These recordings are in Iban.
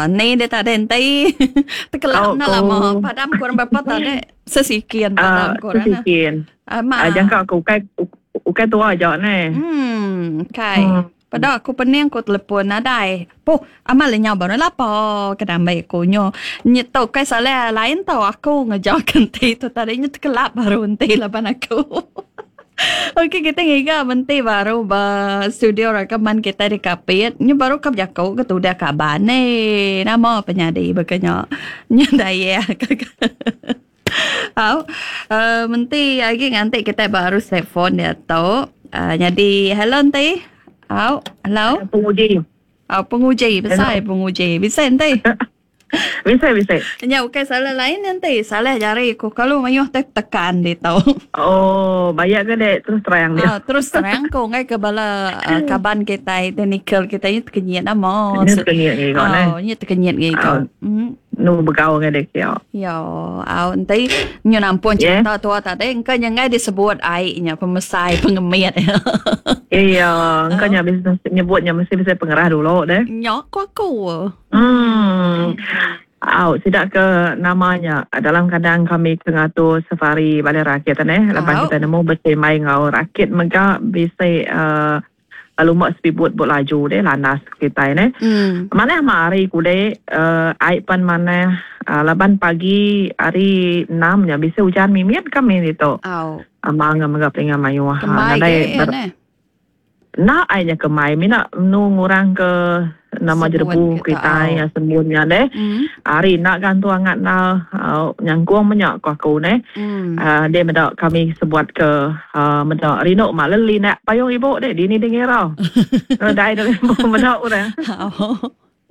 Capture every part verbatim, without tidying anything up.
Ni dia tak ada enti. Terkelap nak lama. Padam kurang berapa tadi? Sesikian padam uh, kurang. Sesikian. Uh, ma. Uh, jangka aku ukai ukai tua aja ni. Hmm, kai. Hmm. Pada aku pening aku telefon nadai. Poh, amal lenyau baru lapo kena ambil aku nyo. Nyetok kai salah lain tau aku ngejar kenti tu tadi nya terkelap baru enti laban aku. Okey, kita ngiga menti baru ba studio rakaman kita di Kapit. Nya baru kap jako ke tudah kaban ni. Nama penyadi bekenya. Nya daya. Au, uh, menti lagi nganti kita baru telefon dia tu. Uh, jadi hello enti. Au, hello. Penguji. Au, penguji, besai penguji. Bisa enti. Bisa, bisa. Nya bukan salah lain nanti. Salah jari aku kalau mayuh te tekan dia tau. Oh, bayar ke dek terus terang dia. Ah, terus terang ko ngai ke bala uh, kaban kita technical kita ni terkenyit nama. Ni terkenyit ni kau Oh, ni terkenyit ni kau. Hmm. Nu begau ke dek ya. Yo, au nanti nyu nampun cerita tua tadi engkau nyangai disebut aiknya pemesai pengemit. Iya, engkau nya bisa nyebutnya mesti bisa pengerah dulu deh. Nyok aku aku. Hmm. Au, tidak ke namanya dalam keadaan kami kengatur safari balai rakyat ni, lepas kita nemu bersemai ngau rakyat mega bisa uh, lumak speedboat buat laju deh landas kita ni. Hmm. Mana mari kude uh, air pan mana uh, laban pagi hari enam nya bisa hujan mimiat kami itu. Au. Amang mega pelingan mayu. Kemai ke nak airnya kemai mina nu ngurang ke nama jerebu kita yang sembunnya deh. Mm. Hari nak gantu angat na uh, nyangkuang banyak ku aku ne. Mm. Uh, dia medak kami sebuat ke uh, medak rinok mak leli nak payung ibu deh dini dengar. Dai dah medak orang.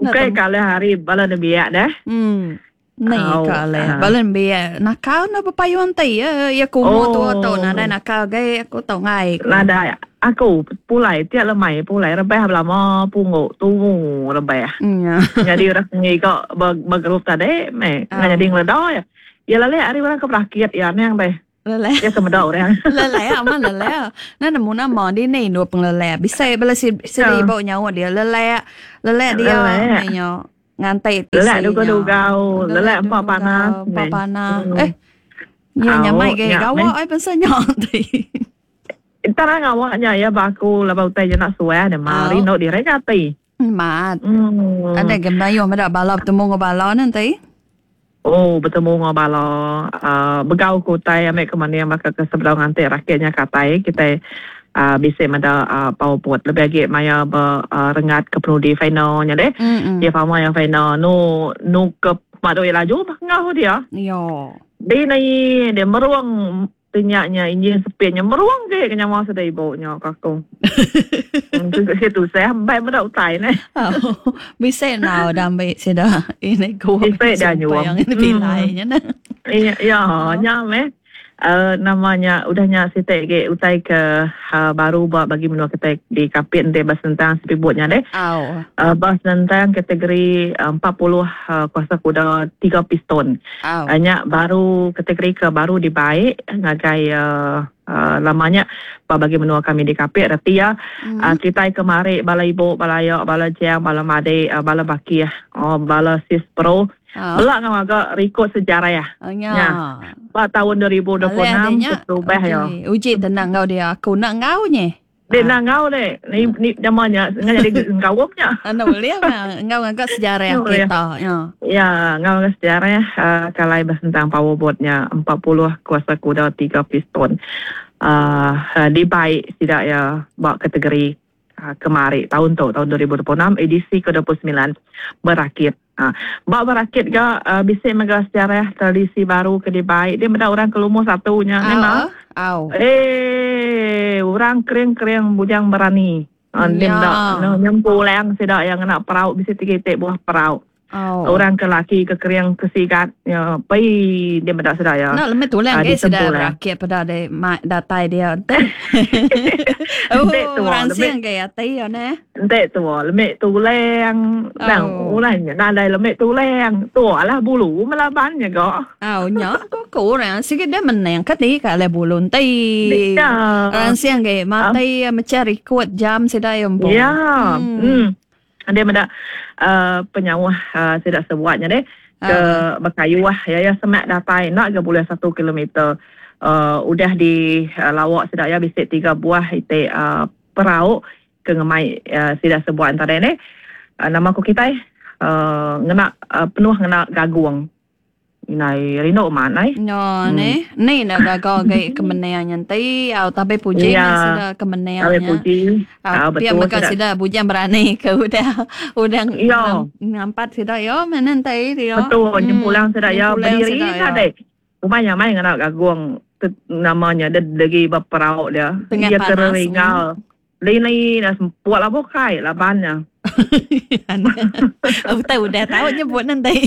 Okey kalau hari bala nebiak deh. Hmm. Ni kale bala nebiak nakal na payung ti ya ya kumu tu tu na nakal ge aku tau ngai. Nada aku pulai tiap lemai pulai rebeh lama pungut tumu rebeh. Jadi orang ngi kok bergerup tadi me jadi ngeledo ya. Ya lale hari orang ke rakyat ya nang be. Lele. Ya kemedak orang. Lele aman lele. Na nemu nama di ni dua penglele. Bisa bala si si ibu nyawa dia lele. Lele dia nyo ngantai lele du dugau lele empat panas. Empat panas. Eh. Ya nyamai ge gawa ai pensa nyo ti. Tarang awaknya ya baku lepas utai je nak suai ada mari nak direka ti. Mat. Hmm. Ada gembayo medak bala bertemu dengan bala nanti. Oh, bertemu dengan bala. Uh, begau ku utai ambil ke mana yang bakal ke sebelah nganti rakyatnya katai kita uh, bisa mada uh, powerboat lebih lagi maya ber, uh, rengat ke penudi finalnya deh. Mm-mm. Dia faham yang final nu nu ke mado laju ngau dia. Yo. Dia ni dia meruang tinyaknya enjin sepitnya meruang ke kena masa dah ibunya kakung. Itu saya baik medak utai ni. Oh, bisa now dah ambil sudah ini gua. Bisa dah nyuam. Yang ini bilainya nah. Iya, ya, nyame. Uh, namanya udahnya sitek ge utai ke uh, baru buat bagi menua kita di Kapit nanti bahas tentang speedboatnya deh. Oh. Uh, bahas tentang kategori uh, empat puluh uh, kuasa kuda tiga piston. Oh. Hanya baru kategori ke baru dibaik ngagai uh, uh, lamanya bagi menua kami di Kapit reti ya. Mm. Uh, kita kemari bala ibu, bala yok, bala jang, bala made, uh, bala bakih, oh, bala sis pro. Oh. Belak ngau agak rekod sejarah ya. Oh, ya. Ya. Pada tahun dua ribu dua puluh enam berubah ya. Uji tenang kau dia. Aku nak ngau ni. Dia nak ngau deh. Ni ni namanya ngau jadi ngawupnya. Anu boleh mah ngau agak sejarah kita. Ya. Ya, ngau agak sejarah uh, kalau bahas tentang powerboatnya empat puluh kuasa kuda tiga piston. Uh, uh, dibaik tidak ya bak kategori uh, kemari tahun tu tahun dua ribu dua puluh enam edisi ke dua puluh sembilan berakit. Ha, bak berakit ke uh, bisik mega sejarah tradisi baru ke dibaik dia benda orang kelumur satunya memang. Au. Eh, orang kering-kering bujang berani. Uh, dia benda no, nyempulang sedak yang nak perauk bisik tiga buah perauk. Oh. Orang ke laki ke kering ke sigat ya pai dia benda sedak ya. Nak lemah tulang ke sedak berakit pada de datai dia. Oh, orang siang ke atai ya ne. Entek tua lemah tulang nang ulang nadai lemah tulang tua lah bulu melabannya kok. Oh, nya kok orang sikit dia menang kati ka le bulu ti. Orang siang ke mati mencari kuat jam sedak yang. Ya. Hmm. Dia meda uh, penyauh uh, tidak sebuatnya deh ke uh. Bekayuh ya ya semak datai nak ke boleh satu kilometer uh, udah di uh, lawak sedak ya bisik tiga buah ite uh, perau ke ngemai uh, sidak sebuat antara ni uh, nama aku kita uh, ngena uh, penuh ngena gaguang Nai rindu mana? No, hmm. ni ni nak gagal ke kemenangan nanti. Au tapi puji ya. Sudah kemenangan. Tapi puji. Au betul. Maka sudah bujang berani ke udah udah ngampat sudah yo mana nanti dia. Betul, jempulang sudah ya berdiri tadi. Rumah yang main nak gaguang namanya dia lagi berperau dia. Dia teringal. Lini dah semput lah bukai labannya. Betul udah tahu nyebut nanti.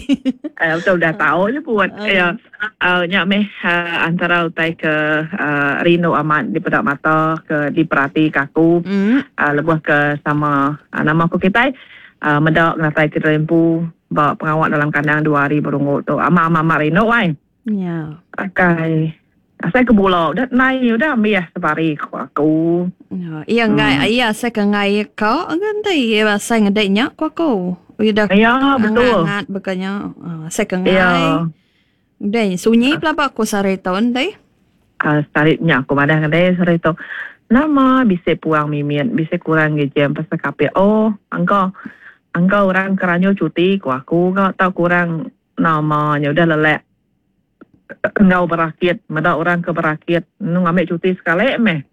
Eh betul udah tahu nyebut. Ya. Uh, nyak meh uh, antara utai ke uh, rindu amat di pedak mata ke diperhati kaku. Mm. Uh, lebuh ke sama uh, nama aku kita uh, medak ngatai ke rempu ba pengawak dalam kandang dua hari berungut tu. Amat amat rindu wai. Ya. Akai. Saya ke bola, dah naik udah ambil ya sebari aku. Iya ngai, iya saya ke ngai kau nanti iya saya ngedeknya ku aku. Udah. Ya betul. Ngat bekanya, saya ke ngai. Ya. Udah sunyi pelaba aku sare tahun deh. Ah saripnya aku madah ngedek sare tu. Nama bisa puang mimian, bisa kurang jam pasal kape. Oh, angkau, angkau orang keranyo cuti ku aku kau tahu kurang namanya udah lelek. Ngau berakit, meda orang ke berakit, nu ngambil cuti sekali meh.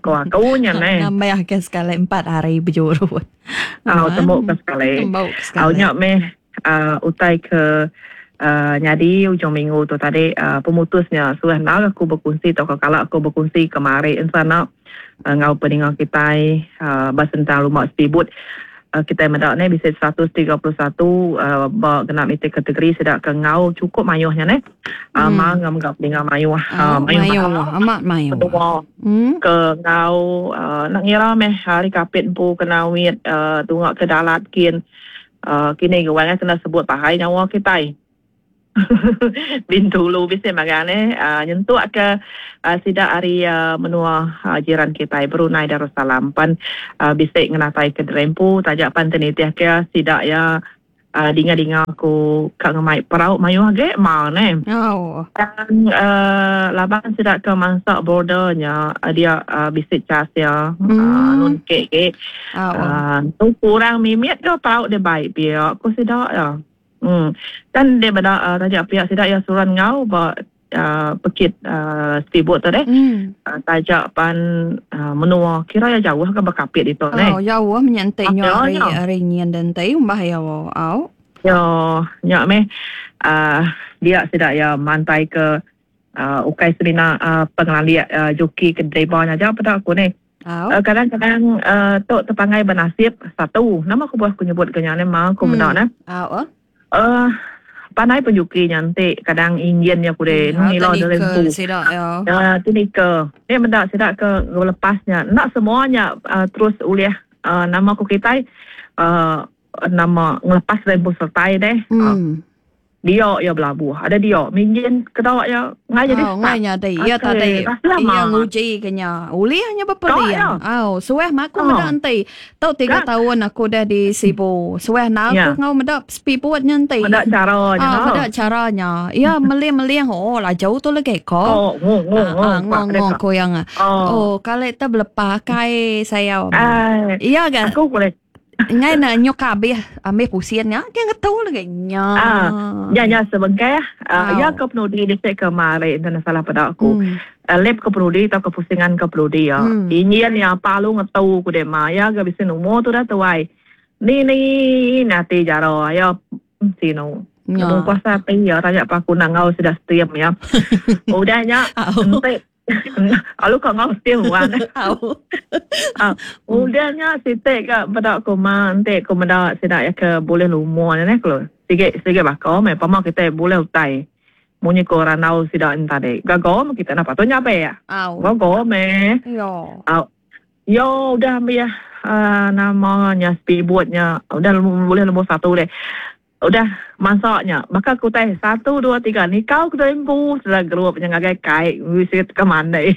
Ko aku nya neh. Ngambil ke sekali empat hari berjurut. Ah, tembok ke sekali. Au nya meh uh, utai ke uh, nyadi ujung minggu tu tadi uh, pemutusnya sudah nak aku berkongsi atau kalau aku berkongsi kemari insana uh, ngau peningang kita uh, basentang rumah speedboat. Uh, kita mendak ni bisa seratus tiga puluh satu uh, ba genap itu kategori sedak ke ngau cukup mayuhnya ni. Uh, hmm. Mang ngam gap dengan mayuh. Uh, mayuh amat mayuh. Hmm. Ke ngau uh, nak ngira meh hari kapit empu kena wit uh, tungak ke dalat kin uh, kini gawang kena sebut pahai nyawa kita. Bintulu bisa magane uh, nyentuk ke uh, sidak hari uh, menua uh, jiran kita Brunei Darussalam pan uh, bisa ngenatai ke Drempu tajak pan tenitiah ke sidak ya uh, dinga-dinga aku kak ngemai perau mayuh ge ma ne. Oh. Dan uh, laban sidak ke mansak bordernya uh, dia uh, bisa cas ya hmm. uh, nun ke ke. Oh. Uh, tu kurang mimit ke perau dia baik pihak aku sidak ya. Hmm. Dan dia benda uh, tajak pihak sidak ya suran ngau ba uh, pekit uh, speedboat tu deh. Hmm. Uh, tajak pan uh, menua kira ya jauh ke berkapit itu oh, ne. Oh jauh menyentiknya hari hari nyian dan tai umbah ya au. Yo nyak meh uh, dia sidak ya mantai ke uh, ukai serina uh, pengelandia uh, joki ke driver aja pada aku ni. Oh. Uh, kadang-kadang uh, tok terpangai bernasib satu. Nama aku buah aku nyebut kenyane mah aku hmm. benar ne. Oh. Uh, pandai penjuki nyantik kadang injinnya kude hmm, nila dalam tu. Ya, ya tu nika. Dia mendak sidak ke lepasnya. Nak semuanya uh, terus uliah uh, nama aku kita uh, nama ngelepas rempu sertai deh. Hmm. Uh, dia ya belabuh. Ada dia minjin ketawa ya ngai jadi. Oh, ngai nyadi. Ya tadi. Ya nguji kenya. Uliahnya berperian. Oh, suah mak aku Oh. medak enti. Tau tiga Kan? tahun aku dah di Sibu. Suah nak Ya. aku ngau medak speedboat nyanti. Medak caranya. Ah, medak caranya. Ya meliang-meliang oh lah jauh tu lagi ko. Oh, ngong ngong Ah, ngong ngong koyang. Oh. Oh, kalau kita berlepas kai saya. Ah, Iya kan? aku boleh. Ngai nak nyok habis ambil pusiannya, dia ngetau lagi nya. Ah, ya ya sebengkai uh, Wow. ya ke penudi di sek kemarin dan salah pada aku. Hmm. Uh, lep ke penudi atau kepusingan ke penudi ya. Hmm. Ini yang palu ngetau ku deh ma ya ke bisa umur tu dah tuai. Ni ni nanti jaro ya sino. Ya. Kamu kuasa pi ya tanya pak aku nak ngau sudah setiap ya. Udahnya Au. ente Lalu kau ngau setiap wan. Au. Ah, udahnya sitek ke pada aku ma ente aku meda sidak ya ke boleh lumur ne kalau sikit sikit bakau me pama kita boleh utai. Munyi ko ranau sidak entah deh. Gago kita nak patut nyape ya. Au. Gago me. Yo. Ah, yo udah ambil ya uh, namanya speedboatnya udah boleh nombor satu deh. Udah masaknya baka ku tai satu dua tiga nikau ke empu sudah grup nya ngagai kai visit ke mandai.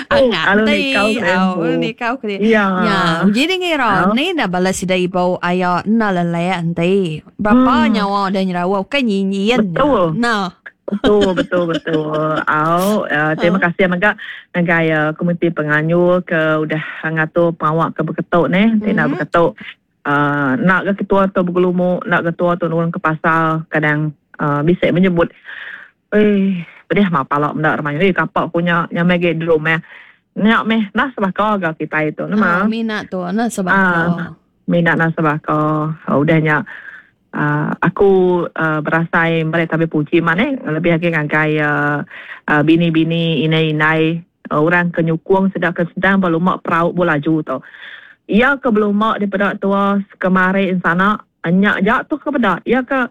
Angat ti au nikau ke ya. Ya, jadi ngira ni dah bala sida ibu aya enda lelek enti. Berapa hmm. nyawa dah nyerawa bukan nyinyin. Betul. Nah. Betul, betul, betul. Au, uh, terima kasih mega ngagai uh, komiti penganjur ke udah ngatur pawak ke beketuk ni, mm-hmm. nak beketuk. Uh, nak ke ketua tu bergelumuk, nak ketua tu nurun ke pasar, kadang uh, bisa menyebut, eh, pedih mah palak benda ramai. Eh, kapak punya nyamai ge drum eh. Nyak meh, nah sebaka ga kita itu, nama. Oh, minat tu, nah sebaka. Uh, minat nah sebaka. Uh, udahnya uh, aku uh, berasai mereka tapi puji mana lebih lagi ngagai uh, uh, bini-bini inai-inai uh, orang kenyukung sedang sedang berlumak perahu bolaju tu. Ia ke belumak daripada tua kemarin sana nyak jak tu ke peda. Ia ke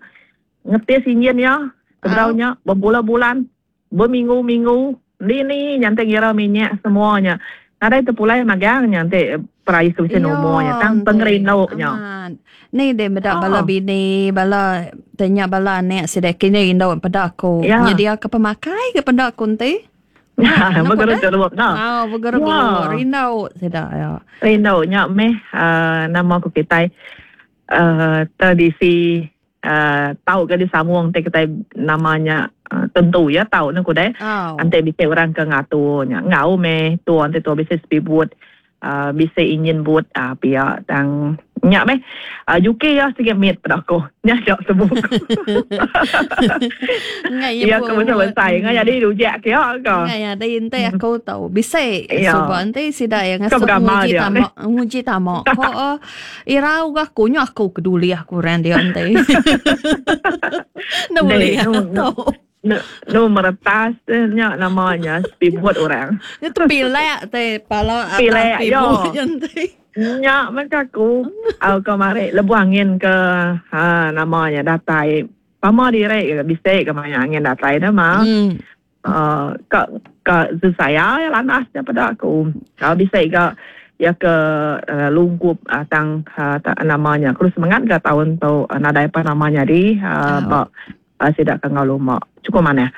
ngetis injin ya sebenarnya berbulan-bulan berminggu-minggu ni ni nyantai kira minyak semuanya. Nadai terpulai magang nyantai perai ke mesin umurnya tang pengerinduknya. Ni dia beda bala bini bala tanya bala anak sedek kini rindu pada aku. Nyedia ke pemakai ke pada aku nanti. Ya, bergerak-gerak nah. Ah, bergerak-gerak rindu sedak ya. Rindu nya meh uh, nama aku kita uh, tradisi uh, tahu ke disambung te kita namanya uh, tentu ya tahu nak kudai. Oh. Ante bisa orang ke ngaturnya. Ngau meh tu ante tu bisa speedboat uh, bisa ingin buat uh, pihak tang nyak meh uh, U K ya sikit mit pada aku. Nyak jak sebut. Ngai ya aku besar ngai jadi rujak ke ke. Ngai ada ente aku tahu bisa sebab ente sida yang ngasuh nguji tamak nguji tamak. Ko irau gak kunyo aku keduli aku ran dia ente. Ndak boleh tahu. No, no meretas nya namanya speedboat orang. Itu pilek te pala pilek yo. Nyak macam aku au kemarin lebuh angin ke ha namanya datai pama direk ke bisik ke mana angin datai dah mah. Hmm. Uh, ke ke saya ya lanas daripada aku. Kalau bisik ke ya ke uh, lungkup uh, tang uh, ta, namanya. Aku semangat ke tahun tu uh, nadai apa namanya di uh, Oh. bak uh, sidak ke ngau lumak. Cukup mana.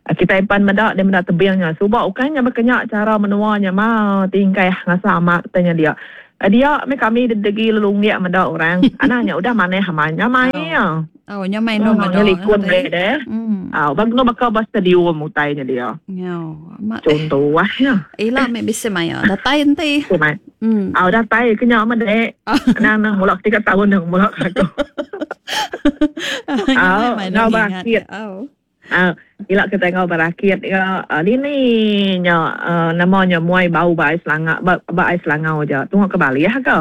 Kita ipan medak dia medak tebingnya. Subak bukannya berkenyak cara menuanya mah tingkai ngasa amat tanya dia. Dia me kami dedegi lelunggik medak orang. Anaknya udah maneh hamanya mai ya. Oh, nya mai no medak. Likun deh. Hmm. Ah, bang no bakal bas stadium utainya dia. Yo, mak contoh wah ya. Ila me bisa maya. Datai enti. Mai. Hmm. Ah, datai kenyak medek. Nang nang mulak tiga tahun nang mulak aku. Ah, ngau berakit. Oh. Ah, ilak kita ngau berakit ya. Uh, ini nya uh, namanya muai bau ba ais langak ba, ba ais langau je. Tunggu ke Bali ya ke?